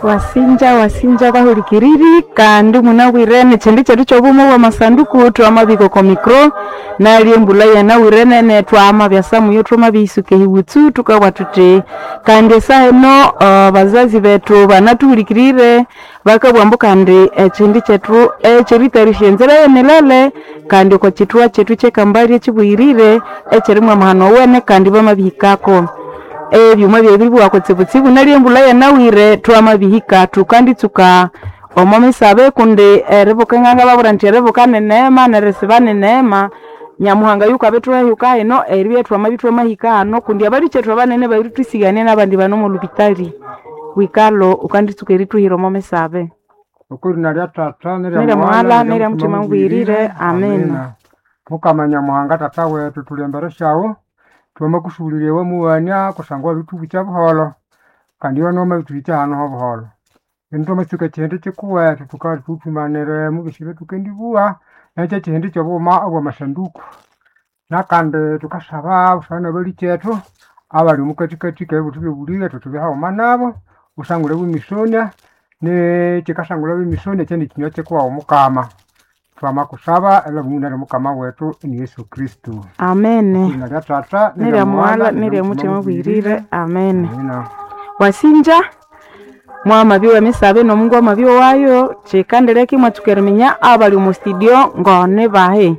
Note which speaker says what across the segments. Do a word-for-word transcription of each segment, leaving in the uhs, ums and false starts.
Speaker 1: Wasinja wasinja bahulikiriri kandi munabwire ekyindi kyethu kyobuma obwamasanduku twamabika oko micro nalyo embulha yanabwire nene twamabyasa muyo thwamabiyisuka ehiwutsu thukabugha thuthi kandi esaha eno abazazi bethu banathuhulikirire bakabugha ambu kandi ekyindi kyethu ekyeritayarisya enzira ey'emilele kandi oko kyithwa kyethu kyekambali ekyibuyirire ekyirimu amahano owene kandi bamabihikako. Ebyuma byabiribugha kutsibutsibu neryo embulha yanabwire twamabihika thukanditsuka omo misabe kundi eribuka ngangababwira indi eribuka ni neema nerisiba ni neema Nyamuhanga yukabithuha hino eribya thwamabya ithwamahika hano kundi abalhikyethu abanene babirithwisigania nabandi bane omo lhupitali. Wikalo wukanditsuka erithuhira omo misabe.
Speaker 2: Okw'erina lya Tata
Speaker 1: Nerya
Speaker 2: nerya
Speaker 1: Muhala
Speaker 2: Mughala
Speaker 1: nerya Muthima Mubwirire. Amina.
Speaker 2: Mukama Nyamuhanga Tata wethu thuli embere syawu twamakusubulirya iwamughania kusangwa wabirithubukya buholho kandi iwe wamabithuhikya hanu hobuholho. Lino thwamatsuka ekyihindi kyikuwethu thuka thuthumanire mubisi ebyathukendibuwa nekyo ekyihindi kyobughuma obwamasanduku. Nakandi thukasaba busana nabalikethu abali omukathikathi kebithu ebyobulile thutubye haghuma nabo wusangule bwemisonia nekyikasangulha bwemisonia kyandi kyinywa kyikuwawu Mukama. Twamakusaba elhamuna Mukama wethu ni Yesu Kristo.
Speaker 1: Amene.
Speaker 2: Kw'erina lya Tata
Speaker 1: Nerya Muhala nerya Muthima Mubwirire. Amene.
Speaker 2: Amina.
Speaker 1: Wasinja mwamabya emisabe nomungu amabya owayo kyikandileka imwatsuka eriminya abali omo studio ngone bahi.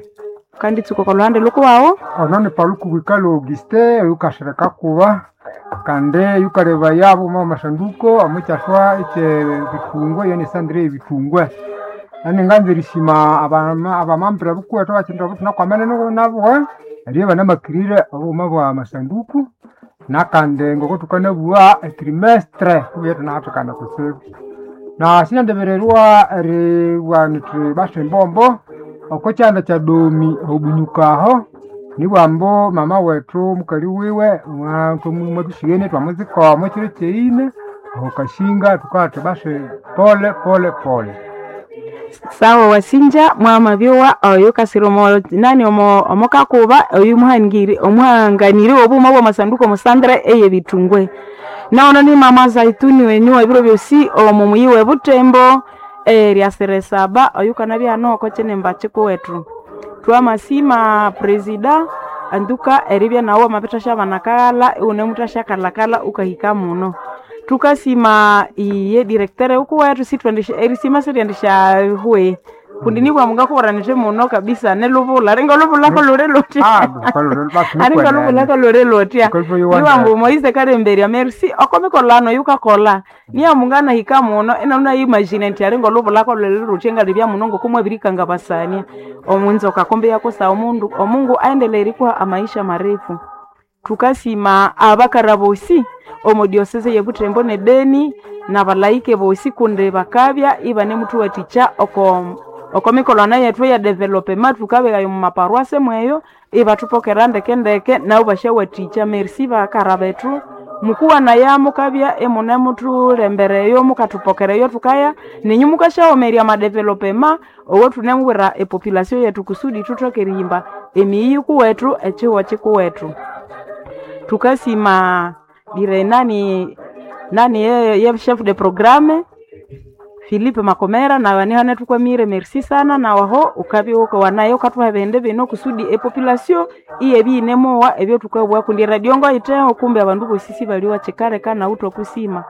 Speaker 1: Wukanditsuka oko lhuhande lhukuwawu.
Speaker 2: Ono ni Paluku Wikalo Augustin oyukasireka kuba kandi yukalebaya obughuma bwamasanduku omukyaswa ekyebithungwa eyo ni sandre eyebithungwa. Naninganza erisima abama abamambira bukuwethu abakyindu abathunakwamene nabo eribya ibanamakirire obughuma bwamasanduku nakandi ngokothukanabugha etrimestre thubughe ithunahathikana kutsibu. Na sinyandibirirwa eribugha nithi basi embombo okokyanda kya Domi obunyuka aho nibugha ambu mama wethu mukali wiwe mwathusighene thwamuzika omo kyiro kyeghine aho Kasinga thukabugha thuthi basi pole pole pole.
Speaker 1: Sawa wasinja mwamabyowa oyo kasira omo nani omo omokakuba oyu muhangiri omuhanganiri w'obughuma bw'amasanduku omo sandre ey'ebithungwe. Nono ni mama Zaituni wenyu ebiro byosi omo muyi w'ebutembo eryasira esaba oyukanabya hano oko kyinimba kyikuwethu. Twamasima presida anduka eribya nawu wamabithasya kaghalha iwunemuthasyakalhakalha wukahika muno. Thukasima iye directeur wukuwethu sithwendisya erisima siryendisya hwe kundi nibwa mungakubwira nithi muno kabisa nilhubulha ringa olhubulhako lhuli luthya aringa olhubulhako lhuli luthya nibughambu Moise Kalemberya merci oko mikolhano eyukakolha niya munganahika muno inabya imagine indi aringa olhubulhako lhuli luthya ngalibya muno ngokumwabirikangabasania omunzoka kumbi yakusa omundu omungu aendeleye erikuha amaisha marefu. Thukasima abakara bosi omo diocese yebuthembo ne Beni nabalaike bosi kundi bakabya ibanemuthuwathikya oko oko mikolhano yethu eya development thukabeghayo omu maparuase mweyo ibathupokera ndeke ndeke nabo basyawathikya merci bakara bethu mukuwanaya mukabya imunemuthulembereyo mukathupokereyo thukaya ninyu mukasyawomerya amadevelopema owathunemubwira epopulation yethu kusudi thuthoke erihimba emiyi yikuwethu ekyihugho kyikuwethu. Thukasima dire nani nani ye, ye chef de programme Philippe Makomera nawe nihane thukwamire merci sana nawaho ukabya wukawanayo wukathuha ebindu bino kusudi epopulation iyabya iyinemowa ebyathukabugha kundi eradio ngoyitheho kumbe abandu bosi sibalyowa kyikaleka nawu thwakusima.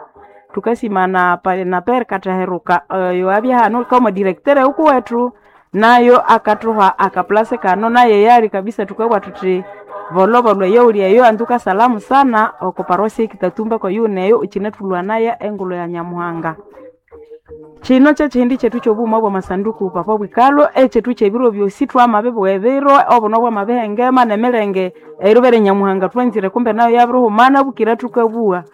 Speaker 1: Thukasima na na Père Kathaheruka oyo abya hano kama directeur wukuwethu nayo akathuha akaplase kano naye yali kabisa thukabugha thuthi bolhobolho eyowuli eyo anduka salamu sana oko parosia ekitatumba kwayuneyo ikyinethulwanaya engulho ya Nyamuhanga. Kino kyekyihindi kyethu kyobughuma bwamasanduku Papa Bwikalho ekyethu kyebiro byosi twamabibugha ebiro obuno bwamabihengema nemilenge eribere Nyamuhanga thwanzire kumbe nayo yabirihumana bukira thukabugha.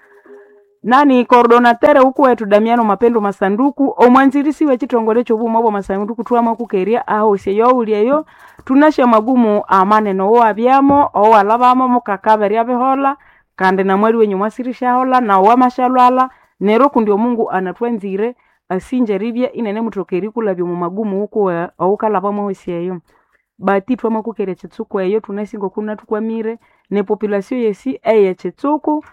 Speaker 1: Nani coordonateur wukuwethu Damiano Mapendo Masanduku omwanzirisi w'ekyithongole ekyobughuma bwamasanduku thwamakukerya ahosi eyowuli eyo thunasya amagumu amanene owabyamo owalhabamo mukakaberya biholha kandi namwali wenyu mwasirisyaholha nawu wamasyalhwalha neryo kundi omungu anathwanzire asinje eribya inenemuthoka erikulhabya omu magumu wukuwe owukalhabamo ahosi eyo. Bati thwamakukerya ekyitsuku eyo thunasi ngoku nathukwamire nepopulation yesi eyekyitsuku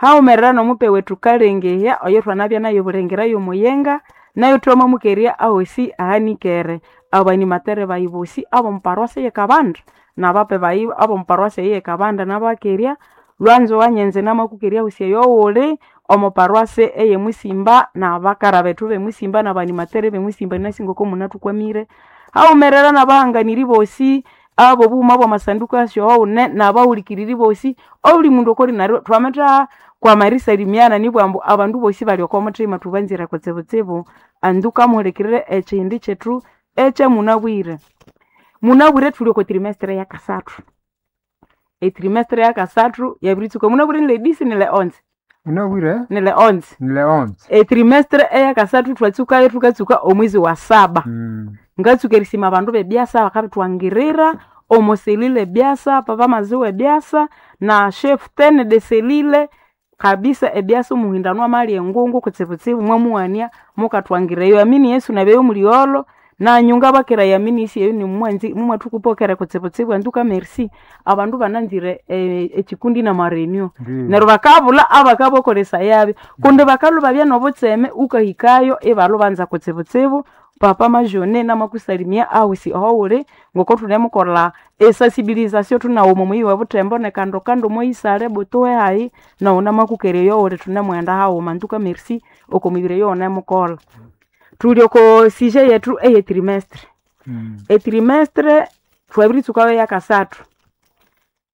Speaker 1: Haumerera nomupe wetu Kalengehya oyo thwanabya nayo bulengera y'omuyenga nayo twamamukerya ahosi ahanikere abanimatere bayi bosi ab'omuparuasi ye Kabanda n'abape bayi ab'omuparuasi eye Kabanda nabakerya lwanzo wanyenze namakukerya ahosi eyo wuli omu paruasi eye Musimba n'abakara bethu b'emusimba n'abanimatere b'emusimba nasi ngoko munathukwamire haumerera n'abahanganiri bosi abo bughuma bw'amasanduku asyoghune n'abahulikiriri bosi obuli mundu okoli neryo twamatha kwama erisalimiana nibwambu abandu bosi bali oko muthima thubanzire kutsibutsibu anduka muhulikirire ekihindi kyethu ekyamunabwire. Munabwire thuli oko trimestre yakasathu etrimestre yakasathu yabiritsuka munabwire ni le dix ni le onze
Speaker 2: Munabwire
Speaker 1: ni le onze
Speaker 2: ni le onze.
Speaker 1: Etrimestre eyakasathu thwatsukayo thukatsuka omwezi wa saba
Speaker 2: Mm.
Speaker 1: ngatsuka erisima abandu b'ebyasa bakabithwangirira omo selile ebyasa papa maziwa ebyasa na chef ten de selile kabisa ebyasa omuhindano amalya engungu kutsibutsibu mwamuwania mukathwangira eyo amini Yesu nabyeyo muligholo nanyu ngabakera yamini isi eyo nimumwanzi mumwathukupokera kutsibutsibu anduka merci abandu bananzire eh, ekikundi namarenio
Speaker 2: Ndiyo.
Speaker 1: neryo bakabulha abakabokolesa yabyo kundi bakalhuba babya nobutseme ukahikayo ibalhubanza kutsibutsibu papa majone namakusalimia ahusi ohowuli ngoko thunemukolha esensibilisation thunawu omuyi wa Butembo nekando kando moisale butuwe hayi nawu namakukerya eyowuli thunemughenda haghuma nduka merci oko mibiri eyowunemukolha. Thuli oko sujet yethu eye trimestre
Speaker 2: Mm.
Speaker 1: etrimestre thwabiritsukayo yakasathu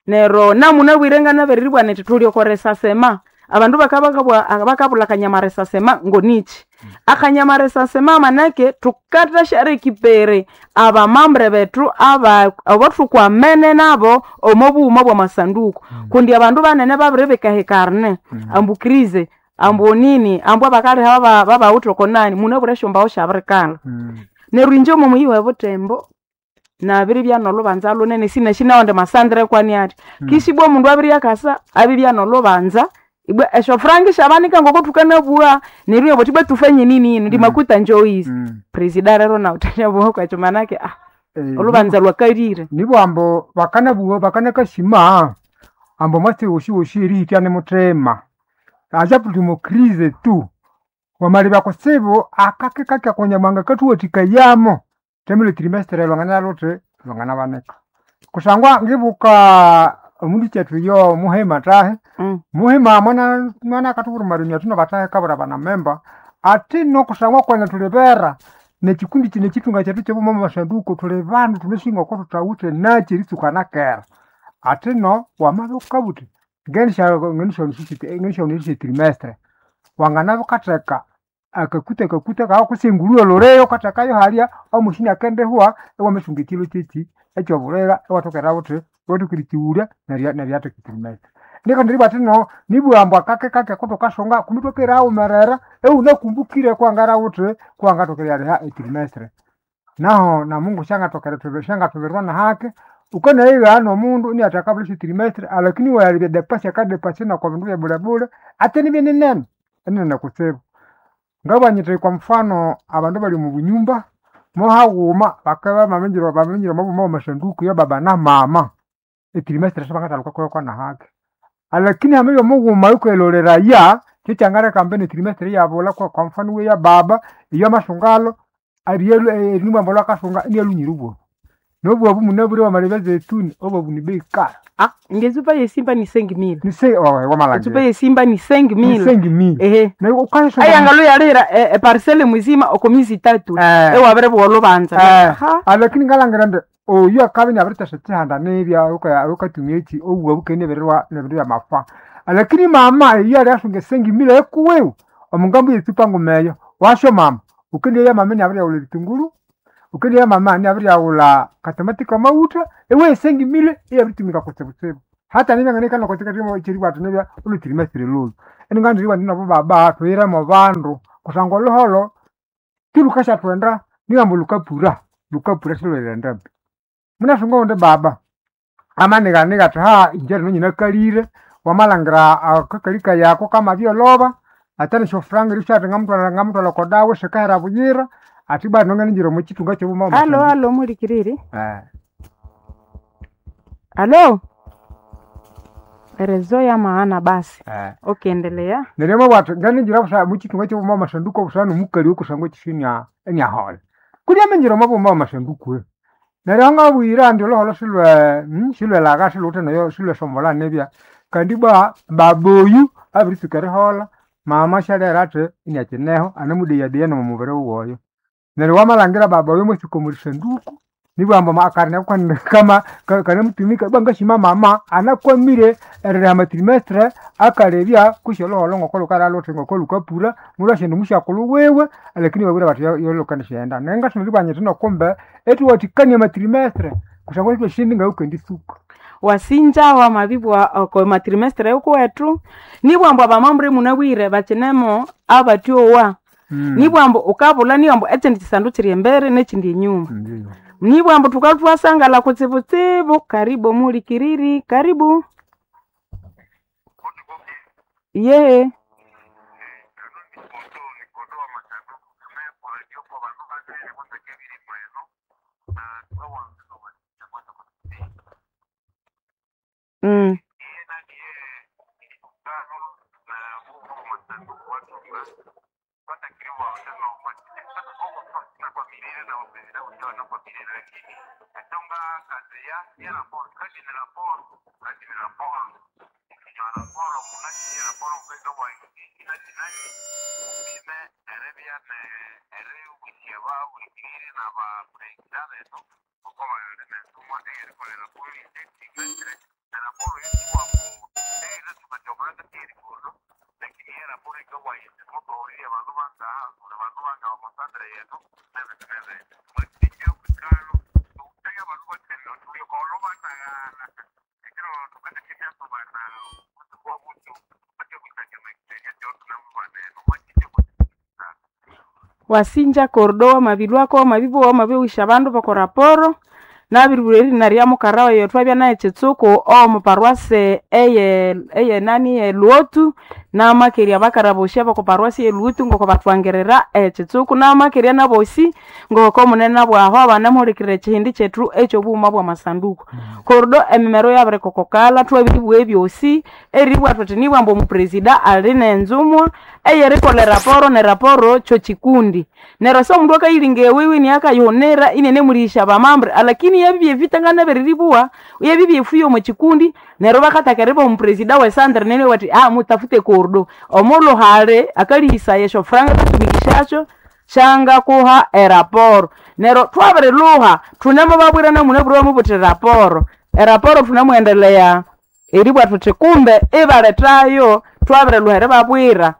Speaker 1: neryo namunabwire nganabiriribwa nithi thuli oko resasema abandu bakabakabwa bakabulha akanyama resasema ngoniki akanyama resasema manake thukathasyarekipere abamambre bethu aba abathukwamene nabo omo bughuma bw'amasanduku kundi abandu banene babiribika ekarne ambu krize ambu nini ambu abakaliha baba- babawithe oko nani munabwire esyombaho syabirikala
Speaker 2: Mm.
Speaker 1: neryo inje omo muyi we Butembo nabiribya nolhubanza lunene sinashinawandi masandre kwani athi kishibwa omundu abiryakasa abibya nolhubanza ibwa esyofuranga syabanika ngoko thukanabugha neryo ibabugha ibwa tufanye nini yinu ndi makuta njoizi
Speaker 2: Mm.
Speaker 1: presida rero nawu thanyabugha kwekyo manake ah
Speaker 2: Eh,
Speaker 1: olhubanza lwakalire
Speaker 2: nibwambo bakanabuwa bakanakashima ambo mwatsi woshi woshi erihitya nimuthima aja tuli crise tu wamalibya kutsibu akake kake konyamwanga kathuwathikayamo temile trimestre lwangana luthi lwanganabanika kusangwa ngibuka omundu kyethu yo muhima tahe
Speaker 1: Mm.
Speaker 2: muhima mwana mwana akathuburumarimya thuno batahe kabura banamemba ati no kusangwa kwene thulibera nekikundi kino ekitunga kyethu kyobuma masanduku thuli bandu thunesinga oko thuthawithe nakyi eritsuka nakera ati no wamabya wukabuthi ngenisyaonisya trimestre wanganabya wukatheka akakuta akakuta kawu kutse engulhuwe lhuliyo wukathekayo halya omushini akendihwa iwamasunga ekilo kyekyi ekyobulira iwathokera wuthi iwathoka erikighulya neryo neryatheka etrimestre nikandi eribugha athi no nibugha ambu akake kake kuthukasunga kumbi ithwakere haghumerera iwunakumbukire kuwangara wuthi kuwangathoka eryaliha etrimestre naho na Mungu syangathoka erithubi syangathubirwa nahake wukanayigha nomundu iniathi akabulha esyo alakini iwayalebya depasi akadepasi noko bindu byabulebule ate nibye ninene enene kutsibu ngabugha nyithi kwa mfano abandu abali omu bunyumba mohaghuma bakabya bamaminjira bamaminjira omo buma bwamasanduku ya baba na mama etrimestre sibangathaluka kuyo nahake alakini hamabya mughuma yukayiloleraya kyekyangaleka ambi netrimestre iyabulha kwa kwa mfano iwe ya baba iyo amasungalo erinibwambu lwakasunga inialunyire obwabu nobwabu munabwire wamalebya zetuni obwabu ni bei kali
Speaker 1: ah ngezupa yesimba ni cinq mille
Speaker 2: nise
Speaker 1: ezupa
Speaker 2: wamalangire
Speaker 1: yesimba ni cinq mille
Speaker 2: nisengi mili
Speaker 1: ehe
Speaker 2: neryo ukayisonga
Speaker 1: ayangalo yalihira eparcele muzima oko miezi tatu
Speaker 2: Eh.
Speaker 1: ewabiribugha olhubanza
Speaker 2: Eh.
Speaker 1: Ha.
Speaker 2: alakini ngalangira indi oyu akabya inabirithasya kyihanda nibya wukatumya eki obuwa bukene nebirirwa nebindu byamafa alakini mama iyo alyasunga esengi mile ekuwiwe omungambo yetsupa nguma eyo wasyo mama wukendiya mama inabiryaghulha ebitunguru wukendiya mama inabiryaghulha katomati kamaghutha iwe esengi mile iyabiritumika kutsibutsibu hata nibya nganikana kyeribugha athi nibya olhutrimestre lolhu iningandiribugha indi nabo baba thuhiremo bandu kusangwa olhuholho tilhukasyathwenda nigamba lhukapura lhukapura silhwerighenda ambi munasunga owundi baba amanighaniga athi ha inje rino nyinakalire wamalhangira akakali kayi ako kamabyolhoba ate nesyofuranga erisyathi ngamutwalha ngamutwalha oko dawa sikahera buyira athi bado nganingire omo kitunga kyobuma
Speaker 1: alo alo mulikiriri alo Erezo ya maana basi.
Speaker 2: Eh.
Speaker 1: Okay, endelea.
Speaker 2: Neryo mabwathu nganinjira busa muchitunga kyobuma amasanduku obusana nomukali okusangwa ekisyo enya enyahola. Kulya aminjira omo buma amasanduku. Neryo ngabuyira indi olhuholho silwe hmm, silwelagha silhuwithe nayo silwesombolha nibya. Kandi ibwa baboyu abiritsuka eriholha, mama syalera athi inyakineho anamudeyadeya nomumubiri wuwe oyo. Neryo wamalhangira baba oyo mwatsuka omwa sanduku nibughambu akarina kama kanamutumika ibwa ngasima mama anakwamire eririha amatrimestre akalebya kutse olhuholho ngoko lukalha luthi ngoko lukapura mulhwasyenda omusyakulhu wiwe lakini ibabwire bathi yo- yolhukandisyenda. Neryo ngasoma eribugha nyithi nokumbe ithuwathikania amatrimestre kusangwa ithwasindi ngayukenditsuka.
Speaker 1: Wasinja wamabibwa oko matrimestre yukuwethu nibwambu abamambre munabwire bakinemo abatyowa. Nibwambu ukabulha nibwambu ekindi kisandu kiri embere nekindi enyuma.
Speaker 2: Ndiyo.
Speaker 1: Nibwambu thukathwasangala kutsibutsibu karibu omuhulikiriri karibu. Yehe. Mm. Wasinja kordo wamabilwako wamabibugha wamabiwisha abandu boko raporo nabiribulha erina rya mukara wayi twabya naye kitsuku omo paroisse eye eye nani eluotu namakerya abakara bosi aboko paroisse ye Luotu ngoko bathwangirira ekitsuku namakerya nabosi ngoko munene bwaho abanamuhulikirira ekihindi kyethu ekyobughuma bwamasanduku. Kordo emimero yabirikokokalha thwabiribugha ebyosi eribugha thuthi nibwa ambu omupresida ali nenzumwa eyerikolha eraporo neraporo kyokikundi. Neryo se omundu akayiringa ewiwe iniyakayihunira inianemulihisya abamambre alakini yabibya evita nganabiribugha yabibya efuyo omo kikundi neryo bakataka eribuha omupresida we sandre neryo bathi ah mutafute kordo omulhuhali akalihisaya esyofuranga akatumikishasyo syangakuha eraporo. Neryo thwabirilhuha thunemubabwira namunabwire bamubuthi eraporo. Eraporo thunemughendelea eribugha thuthi kumbe ibalethayo thwabirilhuha eribabwira.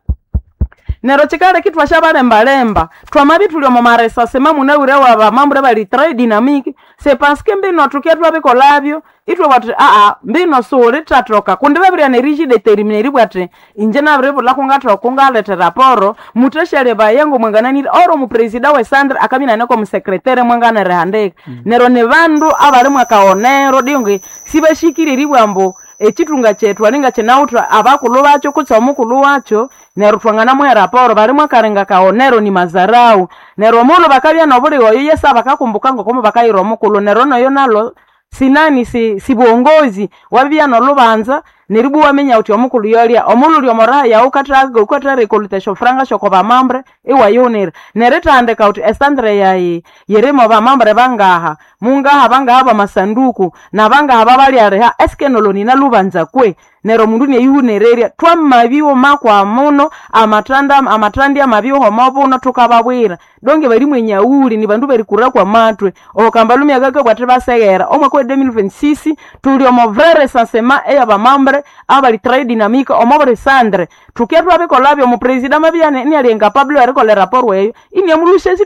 Speaker 1: Neryo kyikaleka ithwasyabalembalemba thwamabya ithuli omo maresasema munabwire wabamambre abali très dynamique c'est parce que mbino thukye thwabikolhabyo ithwabugha thuthi aa mbino siwulithathoka kundi babirigha nerigye determine eribugha athi inje nabiribulha kungathoka kungaletha eraporo muthasyalebaya ngomwangananire ori omupresida we sandre akabya inane kwomusekrethere mwangana erihandika. Neryo nibandu abali mwakaghonero dingi sibashikire eribugha ambu ekithunga kyethu alinga kyinawithe abakulhu bakyo kutse omukulhu wakyo neryo thwanganamuha eraporo bali mwakalinga kaghonero ni mazarau. Neryo omundu bakabya nobulighe oyo yesa bakakumbuka ngoko mubakayira omukulhu neryo noyo nalho sinani si sibuongozi wabibya nolhubanza neribwa iwaminya wuthi omukulhu yolya omulhu wuli omoraha yawu wukatha esyofuranga syoko bamambre iwayihunira. Neryo erithandika wuthi esandre yayi yirimo bamambre bangaha mungaha bangaha bamasanduku nabangaha babalyaliha eske nolo ninalhubanza kwe neryo omundu inayihunirerya. Thwamabighuma kwamuno amathanda amathandi amabighuma omobuno thukababwira donge bali mwenyaghuli nibandu berikura kwamathwe okambalhumi akakabugha athi baseghera omwaka wa deux mille vingt-six thuli omo vrai recensement eyabamambre abali très dynamique omo buli sandre. Thukye thwabikolhabyo omupresida amabya iniali incapable erikolha eraporo eyo iniamulhusya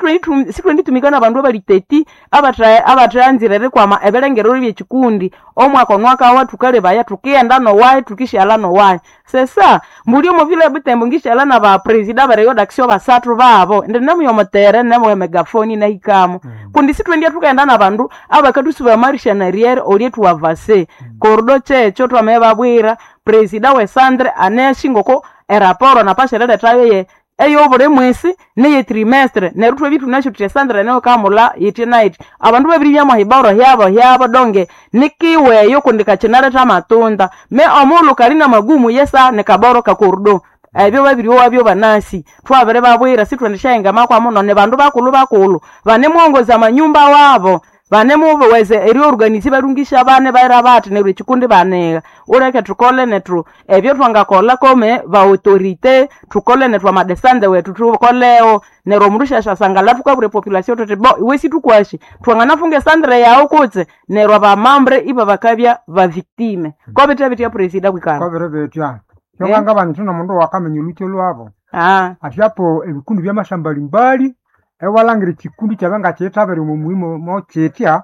Speaker 1: sithwenditumika nabandu abali teti abatha abathanzire erikwama ebirengerero byekikundi omwaka onwakawa thukalebaya thukighenda nowayi thukisyalha nowayi. Sesa mbuli omo vile ebutembo ngisyalha nabapresida abereyo d'action basathu babo indi namuya omutere namuya megafoni nahikamo kundi sithwendya thukaghenda nabandu abakathusubaya amarisha nariyere olye thuwavase. Kordo kyekyo thwamabibabwira presida we sandre anasi ngoko eraporo napasha erilethayo ye eyobuli mwisi neye trimestre neryo thwabya ithunasyo thuthi esandre nayo kamula yithi nayithi abandu babiribya hiboro hyabo hyabo donge nikiweyo kundi kakyinaletha amatunda me omughulhu kali namagumu yesa nikaboro kakorudo ebyo babiryowa banasi thwabiri babwira sithwendisyahinga makwa muno ni bandu bakulhu bakulhu banemuwongoza amanyumba wabo banemuweza eriorganize balungisha abana baira bathi neryo ekikundi banigha uleke thukole nethu ebyo thwangakolha kome ba autorité thukole nethu amadesande wethu thukolewo neryo omundu syasyasangalha thukabwira epopulation thuthi bo iwe sithukwashi thwanganafunga esandre yawu kutse neryo abamambre ibabakabya ba victime kobithe bitya presida bwikana
Speaker 2: Kwabere betya kyokanga bantu nomundu wakamenya olhukyo lwabo
Speaker 1: ah
Speaker 2: atyapo ebikundi byamashambalimbali ewalangira ekikundi kyabe ngakyithabire omo muhimo mokyitya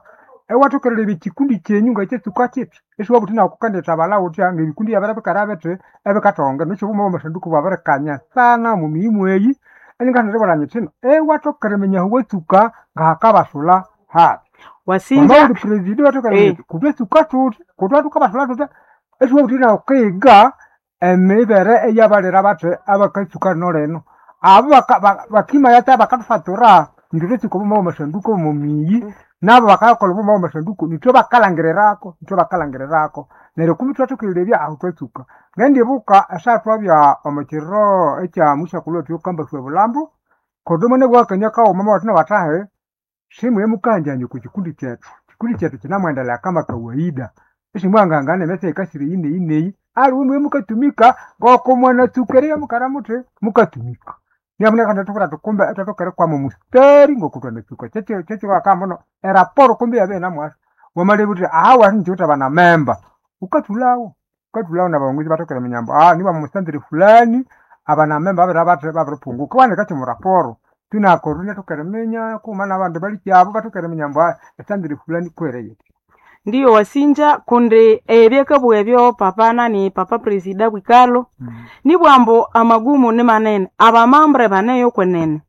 Speaker 2: ewathokererya ekikundi kyenyu ngakyetsuka kiti isiwabuthi nawu kukandithabalha wutya ngebikundi byabere bikara bithi ebikathonga nikyo obuma bwamasanduku bwabirikanya sana omu mihimu eyi eningathindibwira nyithino ewathokererya iminya ahu watsuka ngahakabasula habi
Speaker 1: wasinja
Speaker 2: wamawuli presidi wathokererya
Speaker 1: Eh.
Speaker 2: kutwetsuka thuthi kutwa thukabasula thuthi isiwabuthi nawu kiga emibere eyabalira bathi abakatsuka lino lino abo baka- ba- bakimayata bakathufatura nithwe twetsuka obuma bwamasanduku omu miyi nabo bakakolha obuma bwamasanduku nithwe bakalangirirako nithwe bakalangirirako neryo kumbi thwathokererya ahu twatsuka ngendibuka esaha twabya omu kiro ekya musyakulhu wethu yokambaswa ebulambo kundi munabwa kaghuma mwathina bathahi simuye mukanjanya okwa kikundi kyethu kikundi kyethu kinamwendelea kama kawaida isimwangangana emyatsi eyikasire eyi neyi neyi aliwe muye mukatumika ngoko mwanatsuka eriya mukara muthi mukatumika niamunekana thubwira thuti kumbe ithwathoka erikwama omustari ngoko thwanatsuka kyekyiwakambuno eraporo kumbe iyabya inamwasa wamalebya wuthi aha wasinjiwithe abanamemba wukathulhawo wukathulhawo nabawongozi bathoka eriminya ambu ah niba omusandire fulani abanamemba babiri bathi babiripunguka iwahandika kyomu raporo tunakoru inathoka eriminya kughuma nabandu balikyabo bathoka eriminya ambu ah esandire fulani kwere yithi
Speaker 1: ndiyo wasinja kundi ebyakabugha ebyo papa nani papa presida bwikalo nibwambu amagumu ni manene abamambre baneyo kwenene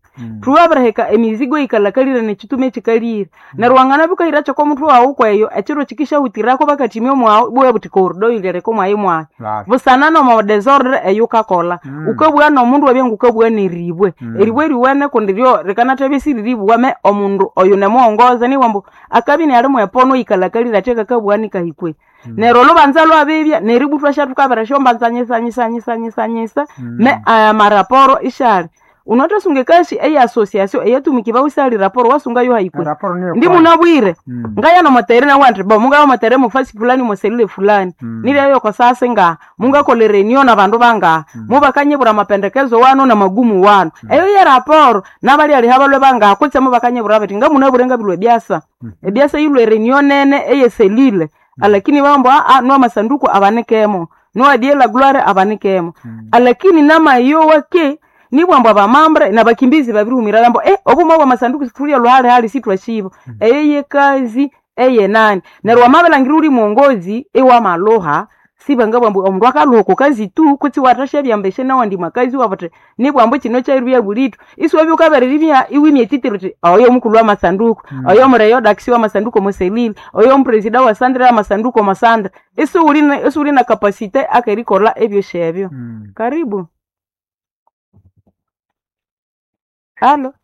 Speaker 1: thuwabiriheka emizigo yikalhakalire nekitume ekikalire neryo wanganabya wukahira kyokomuthu wawu kweyo ekiro kikisyahutirako bakathimya omwawu ibugha buthi cordo yilireka omwayi mwayi busana nomo desordre eyukakolha
Speaker 2: Mm.
Speaker 1: wukabugha nomundu wabya ngukabugha neribwe
Speaker 2: Mm.
Speaker 1: eribwe riwene kundi ryo rikanathabya isiriribugha me omundu oyu nemuwongoza nibwambu akabya inali mwepono yikalhakalire athi akakabugha nikahikwe neryo olhubanza lwabibya neributwa syathukabira syombanza nyisa nyisa nyisa nyisa nyisa me amaraporo isyali unathasunga ekasi eya association eyatumikibwa isali raporo wasungayo haikwe
Speaker 2: eraporo niyo
Speaker 1: ndi munabwire ngaya nomotere nawandi bo mungaya motere mufasi fulani moselile fulani
Speaker 2: Mm.
Speaker 1: nilyayo kosasi nga mungakolera enio na bandu bangaha mubakanyibura mapendekezo wano na magumu wano eyo ye raporo nabalyaliha balwe bangaha kutse mubakanyibura bati ngamunabwire ngabilwe byasa ebyasa yilwe renio nene eyeselile alakini bambo aa no masanduku abanikemo no adiela gloire abanikemo alakini namayowa ke nibwambo abamambre nabakimbizi babirihumira bambo eh obuma bwa masanduku situlya lwale hali sitwashibo eyo yekazi eye nani neryo wamabilangira uli mwongozi iwamaluha sibanga bwambu omundu akaluha oko kazi tu kutsi wathasyabyambeshe nawandi makazi wabuthi nibwambu kino kyaribya bulithu isiwabya wukabiriribya iwimya etitiri uthi oyo mukulhu wa masanduku oyo mureyo dakisi wa masanduku omoselile oyo mupresida wa sandre ya masanduku omasandre isiwuli na- isiwuli na kapasite akerikolha ebyosi ebyo karibu halo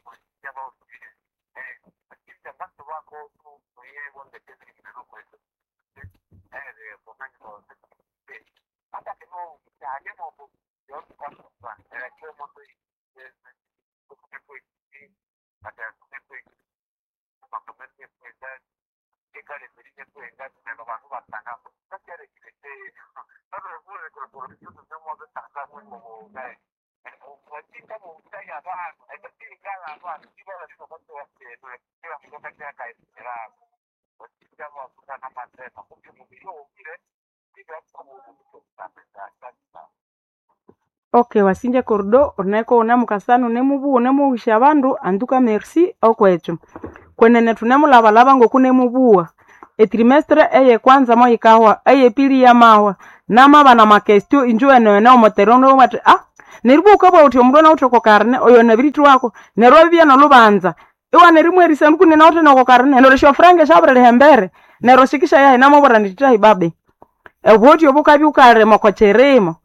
Speaker 1: okay wasinja cordo uneko unemukasana unemubuwa unemughusha abandu anduka merci okwekyo kwenene thunemulabalaba ngokunemubuwa etrimestre eyekwanza moyikahwa eyepili yamahwa namabana makestio injo enewene omoterono wathi ah neribwa ukabugha uthi omundu anawithe oko karne oyo nabirithwako neryo abibya nolhubanza iwana erimwerisa nkunene noko karne neryo esyofuranga syabiriliha embere neryo sikishayahi namubwira ndithi thahi babe obwoti obukabya wukalima oko kirimo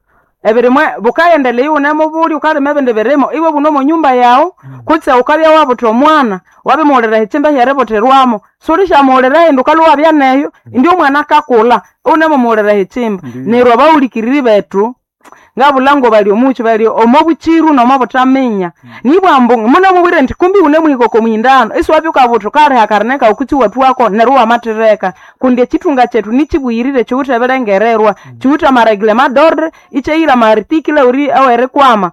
Speaker 1: Ebirimwe bukayendelea iwune mubuli ukalima ebindi birimo iwe buno omo nyumba yawu kutse ukabya wabutha omwana wabimughulira ekyimba ehyeributhirwamo sulishamughulira hindi ukalhwa wabya neyo indi omwana akakulha iwunemughulira ekyimba.
Speaker 2: Ndiyo.
Speaker 1: Neryo abawulikiriri bethu ngabulha ngo bali omuki bali omo bukiru nomo buthaminya nibwa ambu munamubwire nti kumbi wunemuhika oko muhindano isiwabya ukabutha ukaliha akarine kawu kutse iwathuwako neryo iwamathireka kundi ekithunga kyethu nikibughirire kiwithe ebirengererwa kiwithe amareglement d'ordre ikyahira ama article ori awerikwama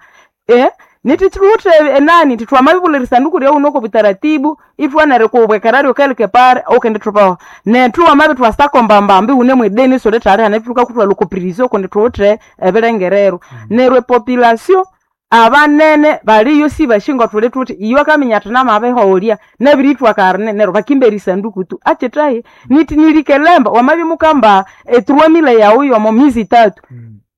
Speaker 1: eh nithi kiwithe enani thi twamabibulha erisanduku ryawuno oko butaratibu ithwanerikubwekeraryo quelque part ukendithubaho nethu wamabithwa sakombambambi wune mwideni isulithaliha nethu thukakuthwalha oko prison kundi thuwithe ebirengererwa. Neryo epopulation abanene baliyo sibashinga thuli thuthi iyo akaminya athi namabiholya nabirithwa karine neryo bakimba erisanduku tu akithahi nithi nilikelemba wamabya mukamba etruamile yawu yomo mizi itatu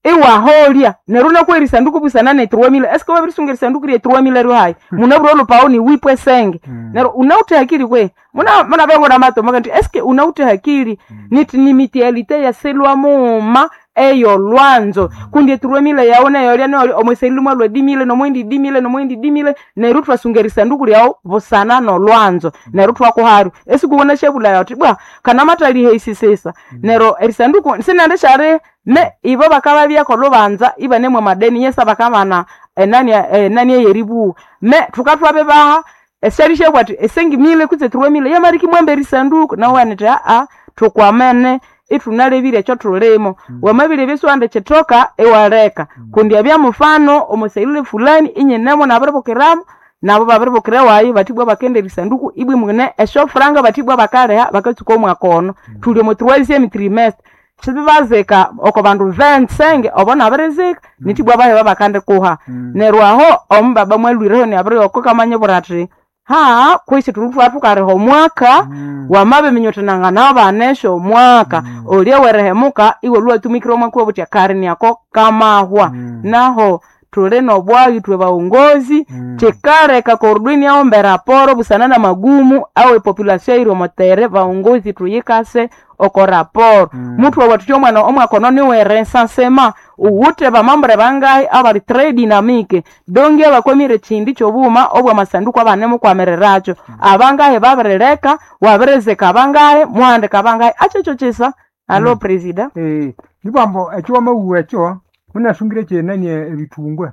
Speaker 1: iwaholya neryo nakwa erisanduku busana netruamile eske wabirisunga erisanduku ryetruamile ryohayi munabwire olhupawo ni wipwe senge neryo unawuthe hakili kwe muna munabengona matomoka nti eske unawuthe hakili nithi ni mitialite yasilwa mughuma eyolwanzo kundi etruamile yawu neyolya neyolya omweselile mwalwa dimile nomwendi dimile nomwendi dimile neryo thwasunga erisanduku ryawu busana nolwanzo neryo thwakuharyo esikuwona syabulaya uthi bwa kanamathaliha esisesa neryo erisanduku sinendishali me ibo bakababya olubanza ibanemwa amadeni yesa bakabana enani enani eyeribuwa me thukathwabibaha esyalishyabwa athi esengimile kutse truamile yamarikimwamba erisanduku nawe nithi aa thukwamene ithunalebire ekyo thulimo wamabirebya esiwandi kyithoka iwaleka kundi abya mufano omuselile fulani inyinemo nabiribukiramu nabo babiribukira ewayi bathibwa bakenda erisanduku ibwi mune esyofuranga bathibwa bakaliha bakatsuka omwaka ono thuli omo troisième trimestre sibibazika oko bandu vensenge obo nabirizika nithibwa baheba bakandikuha neryo aho omubaba mwalwireho nabiriyoko kamanyibwira athi haa kwisi thuli thwathukalhiha omwaka wamabiminya uthi nanganabana esyo omwaka olya werihemuka iwalhwa watumikira omwaka wabuthi akarini ako kamahwa naho thuli nobwayi ithwe baghongozi kyikaleka korudini aghomba eraporo busana namagumu awe population eyiri omotere baghongozi thuyikase oko raporo muthu wawathikya omwana omwaka ono niwe recensement uwuthe bamambure bangahi abali très dynamique donge abakwamire ekyindi kyobughuma obwamasanduku abanemukwamirirakyo abangahi babirileka wabirizika abangahi muhandika abangahi akyekyo kyisa alo presida
Speaker 2: Eh, nibwambo ekyo wamawuwa ekyo munasungire kyenani ebithungwe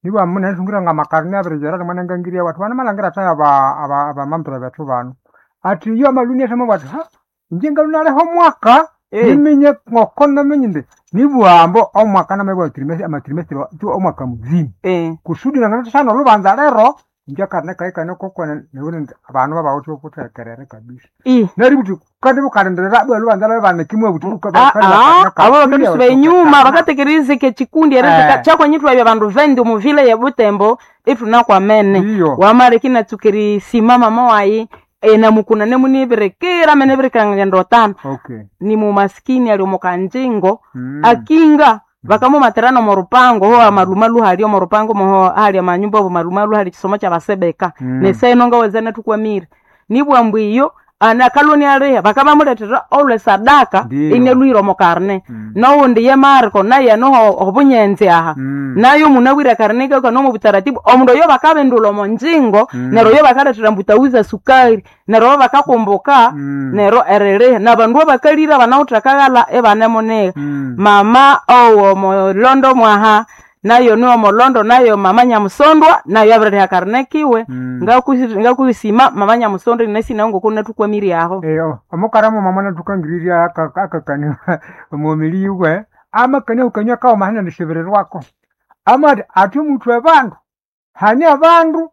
Speaker 2: nibwambo munasungire ngamakarine abirijera rimwe nangangirya watu banamalhangira athayi aba aba abamambure bethu bano athi iyo amaluni athama bwati ha inje ngalunaleho omwaka
Speaker 1: Eh.
Speaker 2: niminye ngoko namenye indi nibwambo omwaka namabwa trimestre amatrimestre tu omwaka muzima
Speaker 1: eh
Speaker 2: kusudi nanganathasana olubanza lero inje akarine kayi kane kokone niwune abandu babawithe okuthekerere kabisa
Speaker 1: i
Speaker 2: neryo buthi kandi bukalindirira bwa lubanza lwe banikimwe buthi
Speaker 1: Ah, ah, abo bakabisuba enyuma bakatekerezeka ekikundi erizika
Speaker 2: Eh.
Speaker 1: kyakwanyithwabya bandu vendi omuvile ye Butembo ithunakwamene
Speaker 2: Ndiyo.
Speaker 1: wamaleki natsuka mama wayi enamukuna nemunibirikira menebirikira otano
Speaker 2: okay
Speaker 1: ni mumaskini ali omukanjingo
Speaker 2: Mm.
Speaker 1: akinga bakamumatirana omu rupango ho amalumalu hali omu rupango moho hali amanyumba obo malumalu hali kisomo kyabasebeka
Speaker 2: Mm.
Speaker 1: neseno ngaweza natukwamire nibwambu iyo anakaloni aliha bakabamuletera olwe sadaka
Speaker 2: Ndiyo.
Speaker 1: inelwire omu karne
Speaker 2: Mm.
Speaker 1: nowundi ye Marko naye noho obunyenzi aha
Speaker 2: Mm.
Speaker 1: nayo munawire karne kaka nomu butaratibu omundu oyo bakabindula omo njingo
Speaker 2: Mm.
Speaker 1: neryo oyo bakaletera mbutauza sukari neryo bo bakakumbuka
Speaker 2: Mm.
Speaker 1: neryo eririha nabandu abakalire banawuthe akaghala ibanemuniha
Speaker 2: Mm.
Speaker 1: mama owo mulondo mwaha nayo niwo mulondo nayo mama nyamusondwa nayo abiririha karne kiwe
Speaker 2: Mm.
Speaker 1: Ngaku- ngakusima mama nyamusondwa inasina ngoku natukwamire aho
Speaker 2: Eh, omukara muma mwana tukangiriria akakani omumili iwe amakani ukanywa kawo mahana nishibirirwako amati ati omuthu abandu hani abandu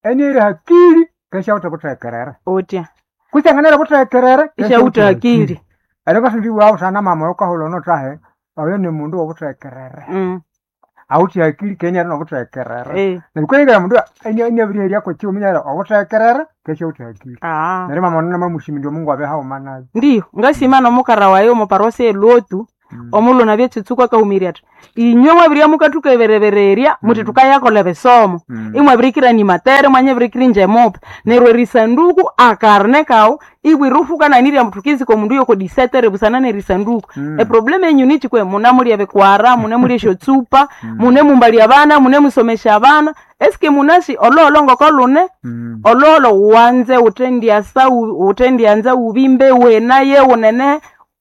Speaker 2: eniere hakili keshawutha buthekerere
Speaker 1: utya
Speaker 2: kusanganira buthekerere
Speaker 1: ishawutha hakili
Speaker 2: ero kasindiwawu sana mama ukahula onotahe oyo ni mundu wobuthekerere
Speaker 1: Mm,
Speaker 2: awuthi hakili keniari nobuthekerere
Speaker 1: eh.
Speaker 2: neryo mundu eniabiriheria kwekiuminyera obuthekerere keshawutha hakili
Speaker 1: Ah.
Speaker 2: neryo mama ono namamushimindya omungu abe hauma nayo
Speaker 1: Ndiyo ngasima nomukara wayo omuparosi elotu Omulhu nabye kitsuku akahumirya athi inywe mwabirya mukathukeberebererya muthi thukayakolha ebisomo
Speaker 2: Mm.
Speaker 1: imwabirikira ni matere mwanyabirikira inje mupe neryo erisanduku akarne kawu ibwira ufukananirya mbu thukizika omundu yoko disetere busana nerisanduku
Speaker 2: Mm.
Speaker 1: eproblemu enyu nichikwe munamulya ebikwara munemulya esyotsupa munemumbalya abana munemusomesya abana eske munasi ololo ngoko lune
Speaker 2: Mm.
Speaker 1: ololo wanze uthendyasa u- uthendyanza ubimbe wenaye unene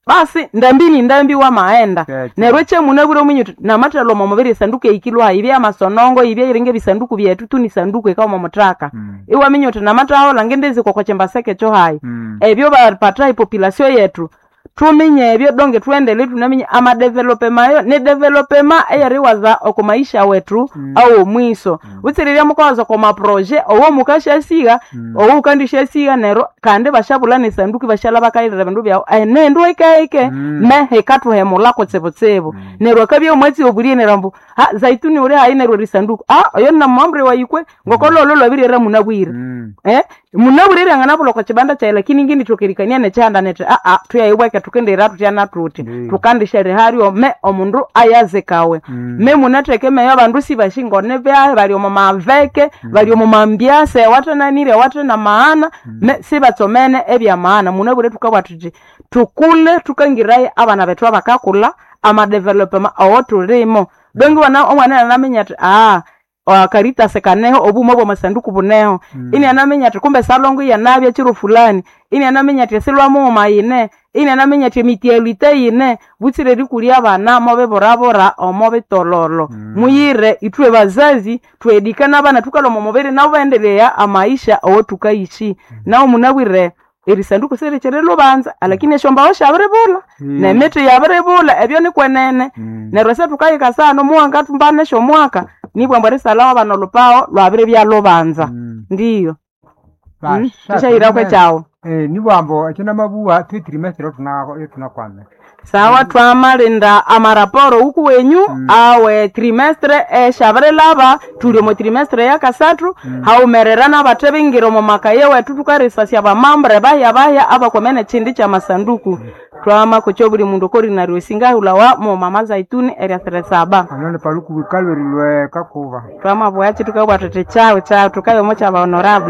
Speaker 1: basi ndambi ni ndambi wamaenda
Speaker 2: Keke.
Speaker 1: neryo ekyemunabwire omunyu uthi namathalwa omo mubiri esanduku eyikilwa ibye amasonongo ibye iringa ebisanduku byethu tu ni sanduku ikawa omuthaka
Speaker 2: Mm.
Speaker 1: iwaminya uthi namathahola ngendezikwa kwa kyembaseke ekyo hayi
Speaker 2: Mm.
Speaker 1: ebyo bapata epopulation yetu tuminye ebyo donge tuendele tunaminya amadevelopema ni developema eyeriwaza oko maisha wetu
Speaker 2: Mm.
Speaker 1: awo mwiso utsirirya mukawaza oko maproje owo mukashasiga
Speaker 2: Mm.
Speaker 1: owo ukandishasiga neryo kandi bashabula nesanduku bashala bakayirira bindu byawu enendu ikeike
Speaker 2: Mm.
Speaker 1: me hikathuhemula kutsibutsibu neryo akabya omwatsi obulie neryo ambu ha zaituni uli hayi neryo erisanduku ah oyo namambre wayikwe ngokololo lwabirira munabwire
Speaker 2: Mm.
Speaker 1: eh munabwire nganabulwa kwa chibanda chaye lakini ngindi thokerikania nechihanda nete a a tuyaibweke tukendera tutyana tuti
Speaker 2: Ndiyo.
Speaker 1: tukandishere hario me omundu ayazikawe
Speaker 2: Mm.
Speaker 1: me munatheke meyo abandu sibashingone byahe bali omu maveke bali omu mambyase awathenanire awathena maana me sibatsomene ebya maana munabwire thukabwa thuthi tukule tukangiraye abana bethu abakakulha amadevelopema awo tulimo dongi wana omwana anaminya athi aa Caritas kaneho obuma bwamasanduku buneho
Speaker 2: Mm.
Speaker 1: ini anaminya ati kumbe salongo yanabya chiro fulani ini anaminya ati silwamughuma yine ini anaminya ati emitialite yine butsire erikulya abana mobiburabura omo bitololo
Speaker 2: Mm.
Speaker 1: muyire ithwe bazazi twedika nabana thukalwa omo mubiri nabo baendelea amaisha owo thukaishi nawo munabwire erisanduku sirikyiri lubanza alakini esyombaho syabiribulha
Speaker 2: Mm.
Speaker 1: nemithi yabiribulha ebyo nikwenene
Speaker 2: Mm.
Speaker 1: neryo ese thukahika sano muwanga thumbana esyomwaka nibwambu erisalawo abana olupawo lwabiribya lubanza
Speaker 2: Mm.
Speaker 1: ndiyo Mm,
Speaker 2: Basha,
Speaker 1: thishahirako ekyawu
Speaker 2: Eh, nibwambo ekyo namabuwa twetirimesiro tunakwame
Speaker 1: sawa twamalinda amaraporo uku wenyu
Speaker 2: Mm.
Speaker 1: awe trimestre esyabirilaba thuli omo trimestre yakasathu
Speaker 2: Mm.
Speaker 1: haumerera nabathe bingira omo makaye wethu thukarisasya bamambre bahya bahya abakwamene kyindi kyamasanduku twamakocha obuli mundu okorinaryo singahulawa mu mama zaituni eryasire saba
Speaker 2: anone paluku wikalwerilwe kakuba
Speaker 1: twamabwakyi thukabwa thuthi kyawu kyawu thukayomo kyabahonorable